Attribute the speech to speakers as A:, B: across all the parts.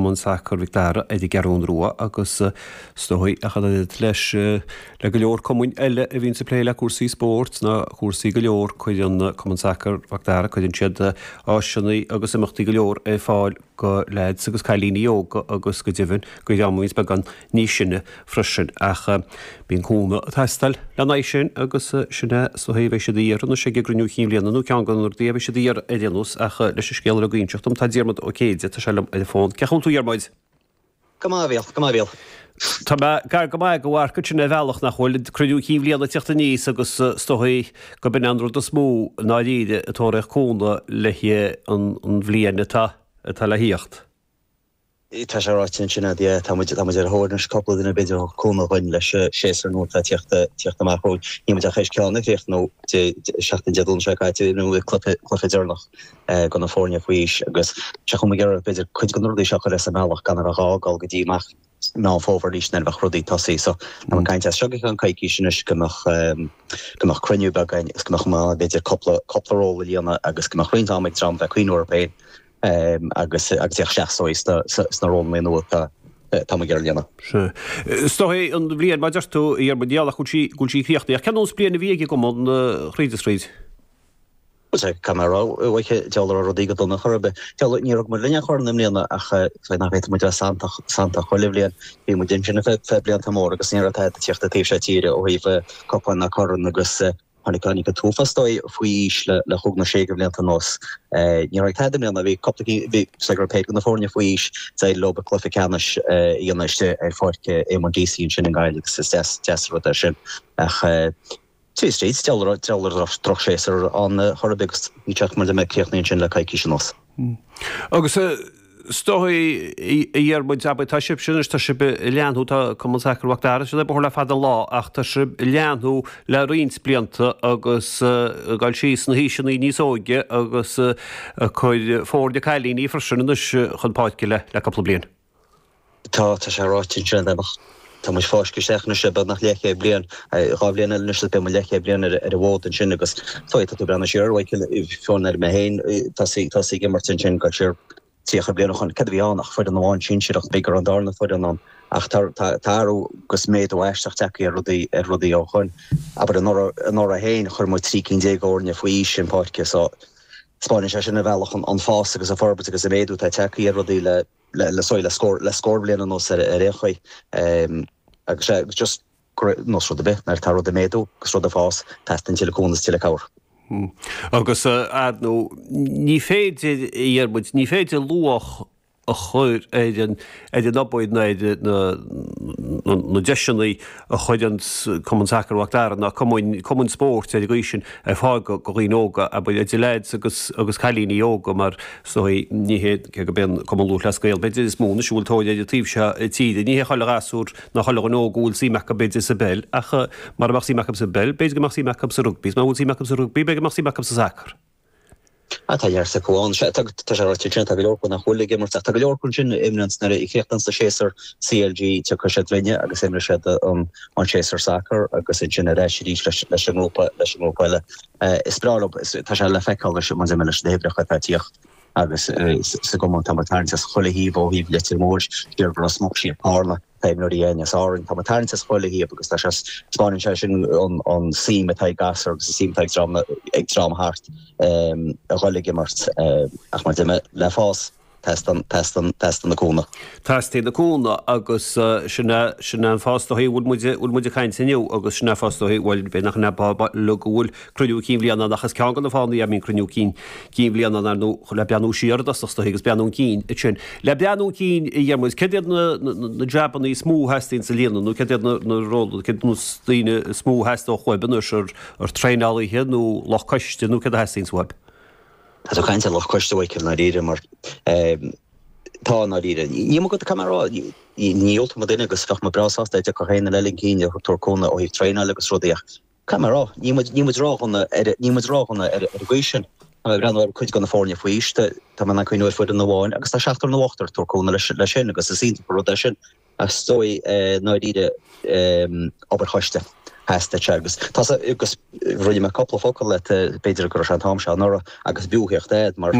A: Cumann Sacair Mhic Dara ar an gCeathrún Rua agus is dóigh ach an oiread leis le go leor cumainn eile a bhíonns ag plé le cúrsaí spóirt ná cúrsaí go leor cuireann Cumann Sacair Mhac Dara cuireann siad áiseanna agus imeachtaí go leor ar fáil go leaids agus cailíní óga agus go deimhin go dhream a bhíonns beagán níos sine freisin. Ach bíonn cúnamh ag teastáil lena aghaidh sin agus sin é is dóigh a bheidh siad a iarraidh anois ag an gcruinniú cinn bhliana nó ceann de na rudaí a bheidh siad a iarraidh ar aon nós ach leis an scéal uilig a inseacht dom tá Diarmuid Ó Céide, tá sé liom ar an bhfón. Cén chaoi a bhfuil tú a Dhiarmuid?
B: Go maith a Mhíchíl, go maith a Mhíchíl.
A: Tá mé gar go maith do mharc ansin ar bhealach nach bhfuil cruinniú cinn bhliana ag teacht aníos agus is dóigh gurb in an rud is mó i ndáiríre ag tóraíocht cúnamh le haghaidh an bhliain atá atá le thíocht.
B: Tá sé ráite ansin a'd, yeah, tá muid, tá muid ar a thóir anois cúpla duine b'fhéidir a thabharfadh cúnamh dhuinn leis an séasúr nua atá ag tíocht, tíocht amach romhainn. Níl muid ach théis ceann a chríochnú Dé, seachtain Dé Domhnaigh seo caite, d'imir muid cluiche, cluiche deireanach do na foirne faoi aois agus sé chomh maith ag iarraidh b'fhéidir cuid de na rudaí seo a chur as an mbealach gan a bheith gá dul go dtí amach Meán Fómhair arís nuair a bheadh rudaí tosaithe. So tá muid ag caint as seo go ceann coicís anois go mbeadh go mbeadh cruinniú beag againn agus go mbeadh muid in ann b'fhéidir cúpla cúpla ról a líonadh agus go mbeadh roinnt ama ag dream bheith ag cuimhniú orthu féin agus agus iad isteach sna sna rólanna nua atá tá muid ag iarraidh líonadh.
A: Sea. Is dóigh an bhliain, mar a deir tú, a Dhiarmuid, níl ach go bhfuil sí go bhfuil sí críochnaithe. Ach cén nós bliain a bhí ag an gcumann thríd is thríd?
B: Bhuel, sea, caithfidh mé a rá, a Mhíchíl, diabhal a raibh rudaí go dona chor ar bith. Diabhal, níor thug muid linn aon chorn i mbliana ach is nach bhféadfadh muid a bheith santach, santach chuile bhliain. Bhí muid ansin ar feadh blianta móra agus ní raibh tada ag tíocht an taobh seo tíre ó thaobh cupán ná corn agus tháinig, tháinig an t-uafás dóigh faoi aois le, le chúig nó sé de bhlianta anuas. Ní raibh tada i mbliana, bhí cúpla cinn, bhí, is go raibh péire de na foirne faoi aois, d'éirigh leo cluiche ceannais a dhéanamh istigh ar pháirc Éamonn Deasy ansin i nGaillimh agus is deas, deas an rud é sin. Ach. Tríd is tríd, diabhal a raibh drochshéasúr ann chor ar bith agus ní teacht mar a mbeidh críochnaithe ansin le coicís anuas.
A: Agus is dóigh, a Dhiarmuid, abair, tá sibhse anois, tá sibh ag leathnú, tá Cumann Sacair Mhac Dara, siad ag obair le fada an lá ach tá sibh ag leathnú le roinnt blianta agus ag dul síos sna haoiseanna níos óige agus ag cur foirne cailíní freisin anois chun páirce le cúpla bliain.
B: Tá, tá sé ráite ansin ach tá muid fáiscthe isteach anois le beagnach leathchéad bliain, 2 bhliain eile anois is beidh muid leathchéad bliain ar an bhfód ansin agus tá tú ag breathnú siar, Mhichíl, fiú ar mé féin, tosaí, tosaí ag imirt ansin go siar 30 bliain ó shoin, cad a bhí ann ach foireann amháin sinsearach, b'fhéidir go raibh an darna foireann ann ach tá, tá, tá athrú agus méadú aisteach tagtha ar rudaí, ar rudaí ó shoin. Abair anuraidh, anuraidh féin chuir muid 13 cinn d'fhoirne faoi aois chun páirce so 'spáineann sé sin ar bhealach an, an fás agus an forbairt agus an méadú atá tagtha ar rudaí le, le sorry le scór le scór bliain anuas ar ar aon chaoi agus sé just ar nós rud ar bith nuair atá rud ag méadú agus rud ag fás teastaíonn tuilleadh cúnamh is tuilleadh cabhair.
A: Agus ar ndóigh ní féidir a Dhiarmuid ní féidir luach a chur ar an ar an obair ná ar na na deiseanna a chuireann Cumann Sacair Mhac Dara ná cumainn cumainn spóirt ar an gcaoi sin ar fáil go dhaoine óga, abair, idir leaids agus agus cailíní óga mar is dóigh ní hé cé gurb é an Cumann Lúthchleas Gael b'fhéidir is mó anois a bhfuil tóir air an taobh seo tíre, ní hé chuile ghasúr ná chuile dhuine óg a bhfuil suim acu b'fhéidir sa bpeil ach mara mbeadh suim acu sa bpeil b'fhéidir go mbeadh suim acu sa rugbaí is má bhfuil suim acu sa rugbaí b'fhéidir go mbeadh suim acu sa sacar.
B: Ah, tá neart acu ann. Sea, tá, tá sé ráite ansin, tá go leor acu nach bhfuil ag imirt ach tá go leor acu ansin a imríonn nuair a chríochnaíonn an séasúr CLG, tiocfaidh siad linne agus imreoidh siad an, an séasúr sacair agus ansin ar ais arís leis, leis an ngrúpa, leis an ngrúpa eile. Is breá leo, is, tá sé le feiceáil leis, mar a deir mé, leis na huimhreacha atá ag tíocht agus sa gcumann tá muid ag tarraingt as chuile thaobh ó thaobh Leitir Móir, siar go Ros Muc, siar Carna. Tá imreoirí againn as Árainn. Tá muid ag tarraingt as chuile thaobh agus tá sé, 'spáineann sé sin an suim atá ag gasúir agus an suim atá ag dream, ag dream thart a dhul ag imirt. Ach mar a deir mé, le fás, teastaíonn, teastaíonn, teastaíonn an cúnamh.
A: Teastaíonn an cúnamh agus sin é, sin é an fáth is dóigh a bhfuil muid, bhfuil muid ag caint inniu agus sin é an fáth is dóigh, bhuel, b'fhéidir nach in é go bhfuil cruinniú cinn bhliana ann ach is ceann de na fáthanna a mbíonn cruinniú cinn cinn bhliana ann ar ndóigh le breathnú siar i dtosach is dóigh agus breathnú chun cinn ansin. Le breathnú chun cinn a Dhiarmuid, céard iad na na jabanna is mó a theastaíonn a líonadh nó céard iad na na rólanna, céard na daoine is mó a theastódh uaibh anois ar ar traenálaithe nó lucht coiste nó céard a theastaíonns uaibh?
B: Tá tú ag caint ar lucht coiste a Mhichíl i ndáiríre mar tá i ndáiríre. Níl mé caithfidh mé a rá, ní dhiúltódh mé duine agus bheadh mé breá sásta dá dtiocfadh aon duine eile chun cinn ag tabhairt cúnamh ó thaobh traenáil agus rudaí ach Caithfidh mé a rá, níl muid, níl muid ródhona ar, níl muid ródhona ar, ar an gcaoi sin. Tá mé ag breathnú ar cuid de na foirne faoi aois, tá, tá mé in ann cuimhniú ar foireann amháin agus tá seachtar nó ochtar ag tabhairt cúnamh leis, leis sin agus is iontach an rud é sin. Ach is dóigh, i ndáiríre, obair choiste, theastaigh sé agus tá sa, agus rinne mé cúpla focal leat, b'fhéidir go raibh sé an t-am seo anuraidh agus b'fhiú a theacht ahead mar.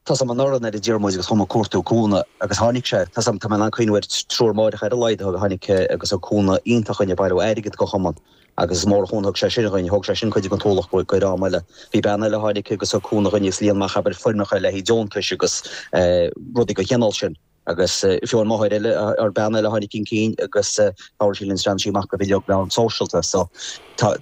B: Tá 's a'm anuraidh nuair a d'iarr muid agus chuaigh muid ag cuartú cúnamh agus tháinig sé, tá 's a'm, tá mé in ann cuimhniú ar triúr máithreacha ar a laghad a tháinig agus thug cúnamh iontach dhuinn ag bailiú airgid don chumann agus is mór an chúnamh a thug sé sin dhuinn, thóg sé sin cuid den t-ualach go dream eile. Bhí bean eile a tháinig agus thug cúnamh dhuinn agus líon amach abair foirmeacha le haghaidh deontais agus rudaí den chineál sin. Agus fiú an máthair eile, ar bean eile a tháinig chun cinn agus chabhraigh sí linn is bhreathnaigh sí amach do bhileog meán sóisialta. So tá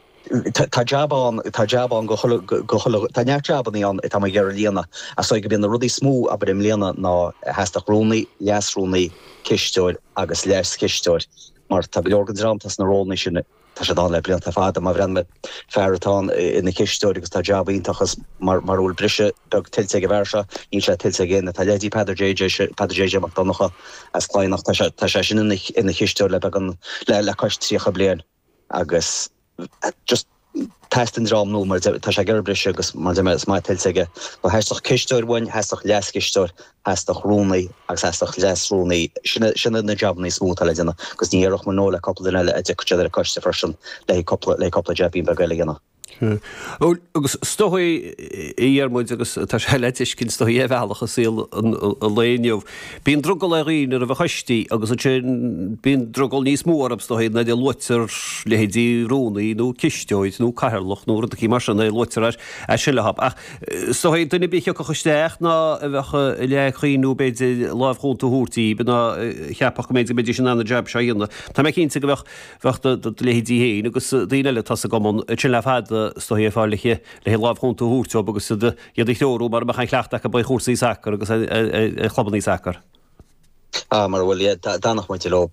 B: tá jab ann, tá jab ann go chuile, go chuile, tá neart jabannaí ann atá muid ag iarraidh a líonadh. Ach is dóigh gurb iad na rudaí is mó, abair i mbliana, ná theastódh rúnaí, leas-rúnaí, cisteoir agus leas-chisteoir mar tá go leor den dream atá sna rólanna sin, Tá siad ann le blianta fada. Má bhreathnaím ar fear atá ann ina chisteoir agus tá jab iontach agus mar a bhfuil briseadh beag tuillte ag an bhfear seo, níl sé tuillte ag éinne. Tá leithéidí Peadar JJ, Peadar JJ Mac Donncha as Cladhnach, tá sé, tá sé sin ina, ina chisteoir le beagán, le, le cois 30 bliain agus just teastaíonn dream nua mar tá sé ag iarraidh briseadh agus mar deir mé is maith tuillte aige. So theastódh cisteoir uainn, theastódh leaschisteoir, Theastódh rúnaí agus theastódh leas-rúnaí. Sin sin iad na jabanna is mó atá le déanamh agus ní dhéarfadh muid no le cúpla duine eile a dtiocfadh siad ar an coiste freisin le haghaidh cúpla le haghaidh cúpla jaibín beag eile a dhéanamh.
A: Bhuel, agus is dóigh, a Dhiarmuid, agus tá sé le tuiscint is dóigh ar bhealach i saol an lae inniu, bíonn drogall ar dhaoine roimh choistí agus ansin bíonn drogall níos mó orthu is dóigh nuair a luaitear leithéidí rúnaí nó cisteoir nó cathaoirleach nó rud eicínt mar sin nuair a luaitear é sin leo. Ach Is dóigh, duine ar bith a thiocfadh isteach ná a bheadh le cuimhniú b'fhéidir lámh chúnta a thabhairt díbh ná a cheapfadh go mb'fhéidir go mbeidís in ann an jab seo a dhéanamh. Tá mé cinnte go mbeadh bheadh do do leithéidí féin agus daoine eile atá sa gcumann ansin le fada is dóigh ar fáil le le lámh chúnta a thabhairt dóibh agus iad iad a threorú mar a mbeadh an chleachtadh acu ar chúrsaí sacair agus ar ar chlubannaí sacair.
B: Ah, mar a bhfuil, yeah, d'fhanfadh muid leo,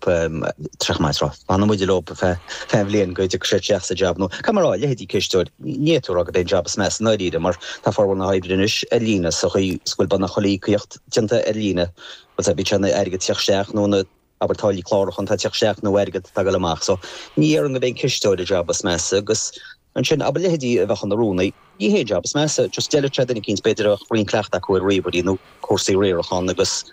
B: tráth maith tráth, fanfaidh muid leo feadh an bhliain go dtiocfaidh siad isteach sa jab nó, caithfidh mé a rá, leithéidí cisteoir, ní fhéadfá a rá gurb é an jab is measa i ndáiríre mar tá formhór na hoibre anois ar líne sa chaoi is go bhfuil beagnach chuile íocaíocht déanta ar líne, bhuel, bíodh sé ina airgead ag teacht isteach nó ina, abair, táillí clárúcháin atá ag teacht isteach nó airgead atá ag dul amach. So, ní dhéarfainn gurb é an cisteoir an jab is measa agus ansin, abair, leithéidí a bheadh ina rúnaí, ní hé an jab is measa, just d'fheilfeadh sé duine eicínt, b'fhéidir a bheadh roinnt cleachta acu ar ríomhairí nó cúrsaí riaracháin agus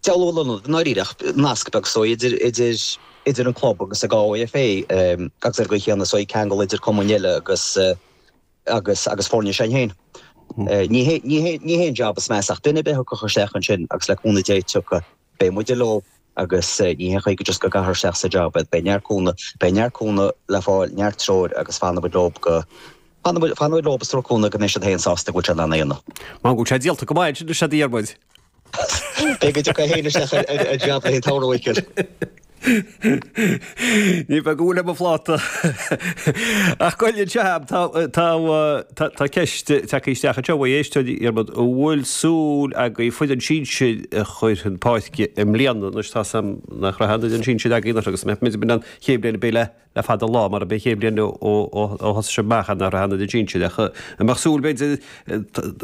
B: dealbh a lonnú, i ndáiríre, ach nasc beag is dóigh idir, idir, idir an club agus an GAFA agus ar an gcaoi chéanna is dóigh ceangal idir cumainn eile agus agus, agus foirne s'againn féin. Ní hé, ní hé, ní hé an jab is measa ach duine ar bith a thiocfadh isteach ansin agus le cúnamh Dé tiocfaidh, beidh muide leo agus ní haon chaoi go just go gcaithfear isteach sa jab iad. Beidh neart cúnamh, beidh neart cúnamh le fáil, neart treoir agus fanfaidh muid leo go, fanfaidh muid, fanfaidh muid leo agus tabhairt cúnamh go mbeidh siad féin sásta go bhfuil siad in ann é a dhéanamh.
A: Mar go bhfuil sé díolta go maith ansin is ea a Dhiarmuid.
B: Beidh go dtiocfaidh féin isteach ar an jab le haghaidh an tsamhraidh, a Mhichíl.
A: Ní bheidh go bhfuil ar mo phláta. Ach goil anseo a'm, tá, tá, tá, tá ceist tagtha isteach anseo ó éisteoir, a Dhiarmuid, an bhfuil súil agaibh foireann sinsir a chur chun páirce i mbliana? Anois tá's a'm nach raibh aon fhoireann sinsir agaibh anuraidh agus mbeidh muid in ann chéad bhliain a bheidh le le fada an lá mar ab é an chéad bhliain ó ó ó thosaigh sibh amach nach raibh aon fhoireann sinsir ach an mbeadh súil b'fhéidir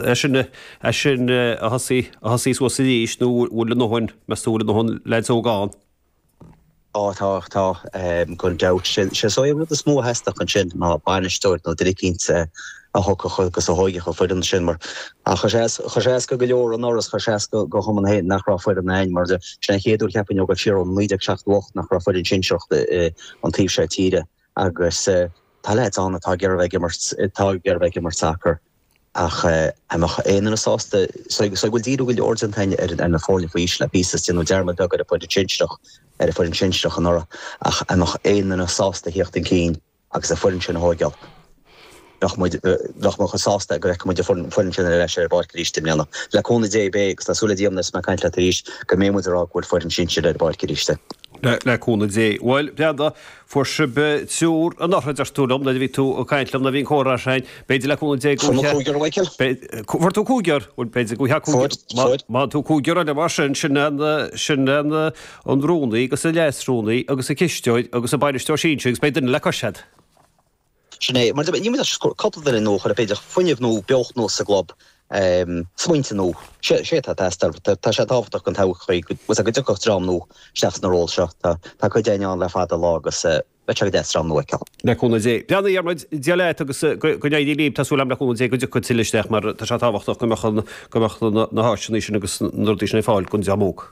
A: é sin é sin a thosaí a thosaí suas arís nó bhfuil a ndóthain meas tú bhfuil a ndóthain leaids óga ann?
B: Á tá, tá, gan dabht. Sé is dóigh an rud is mó a theastódh ansin ná bainisteoir nó duine eicínt a thiocfadh agus a thóigfeadh an foireann sin mar chuir sé as, chuir sé as go go leor anuraidh is chuir sé as go go chumann féin nach raibh foireann a'ainn mar sin an chéad uair cheapfainn ó ag dul siar ó 1978 nach raibh foireann sinsearach an taobh seo tíre agus tá leaids ann atá ag iarraidh bheith ag imirt, atá ag iarraidh bheith ag imirt sacar. Ach an mbeadh aon duine sásta, so go bhfuil díriú go leor déanta againn ar na foirne faoi aois le píosa is déanadh dearmad beag ar an bhfoireann sinsearach, ar an bhfoireann sinsearach anuraidh, ach an mbeadh aon duine sásta a thíocht chun cinn agus an foireann sin a thóigeáil? Bheadh muid, bheadh muid chomh sásta go bhfeicfeadh muid an foireann sin ar ais ar an bpáirc arís i mbliana. Le cúnamh Dé beidh, agus tá súil le Dia nuair is mé ag caint leat arís go mbeidh muid ag rá go bhfuil foireann sinsir ar an bpáirc arís.
A: Le cúnamh Dé. Bhuel, Breandán, fuair sibh triúr anuraidh, a deir tú liom, nuair a bhí tú ag caint liom, nuair a bhí an comhrá sin, b'fhéidir le cúnamh Dé go
B: Fuair mé cúigear, a Mhichíl.
A: Fuair tú cúigear? Bhuel, b'fhéidir go
B: bhfuil cúigear. Fuair, fuair.
A: Má tú cúigear eile mar sin, sin an, sin an, an rúnaí agus an leasrúnaí agus an cisteoir agus an bainisteoir sinsir agus beidh duine le cois agat.
B: Sin é. Mar níl muid ach cúpla duine nua a chur, b'fhéidir, fuinneamh nua, beocht nua sa gclub, smaointe nua. Sé atá ag teastáil. Tá sé tábhachtach don todhchaí go dtiocfadh dream nua isteach sna róil seo. Tá cuid againn ann le fada an lá agus beidh sé go deas dream nua a fheiceáil.
A: Le cúnamh Dé. Breathnaigh, a Dhiarmuid, Dia leat agus go n-éirí libh. Tá súil agam le cúnamh Dé go dtiocfaidh tuilleadh isteach mar tá sé tábhachtach go mbeadh go mbeadh na háiseanna sin agus na rudaí sin ar fáil don dream óg.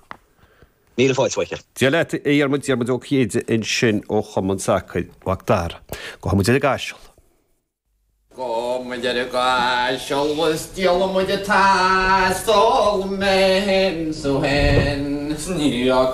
B: Míle fáilte, a Mhichíl.
A: Dia leat, a Dhiarmuid, Diarmuid Ó Cinnéide ansin ó Chumann Sacair Mhac Dara. Gabhfaidh muid ar an gCaiseal.
C: Go. Gabhfaidh muid ar an gcaiseal is díolfaidh muid an t-asal mé féin 's thú féin. 'S ní fhaca.